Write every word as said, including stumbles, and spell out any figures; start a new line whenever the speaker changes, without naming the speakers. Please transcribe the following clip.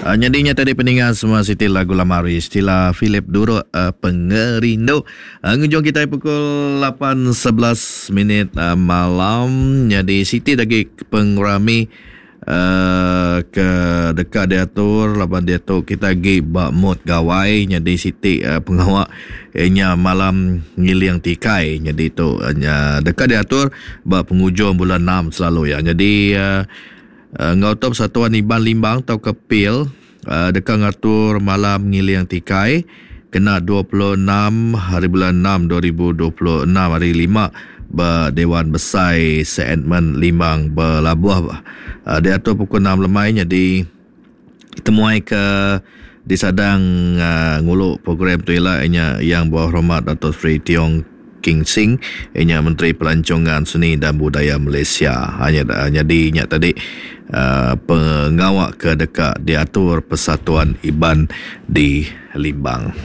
Uh, nyadi nya tadi peninga semua siti lagu lama ari Stila Philip Duruk uh, Pengerindu. Uh, ngujung kita pukul lapan sebelas minit uh, malam. Nyadi siti lagi pengerami uh, ke deka diatur laban diatu kita agi ba mood gawai. Nyadi siti uh, pengawa nya malam ngiling tikai. Nyadi tu uh, deka diatur ba pengujung bulan enam selalu ya. Nyadi uh, enggau tu Persatuan Iban Limbang tau ke P I L uh, deka ngatur malam ngiling tikai kena dua puluh enam hari bulan enam dua ribu dua puluh enam hari lima ba Dewan Besai Saint Edmund Limbang Belabuh. Uh, diatur pukul enam lemai. Jadi temuai ke disadang uh, ngulu program tu ialah nya Yang Berhormat Dato Sri Tiong King Sing, inya Menteri Pelancongan, Seni dan Budaya Malaysia. Hanya jadi nya tadi uh, pengawak ke dekat diatur Persatuan Iban di Limbang.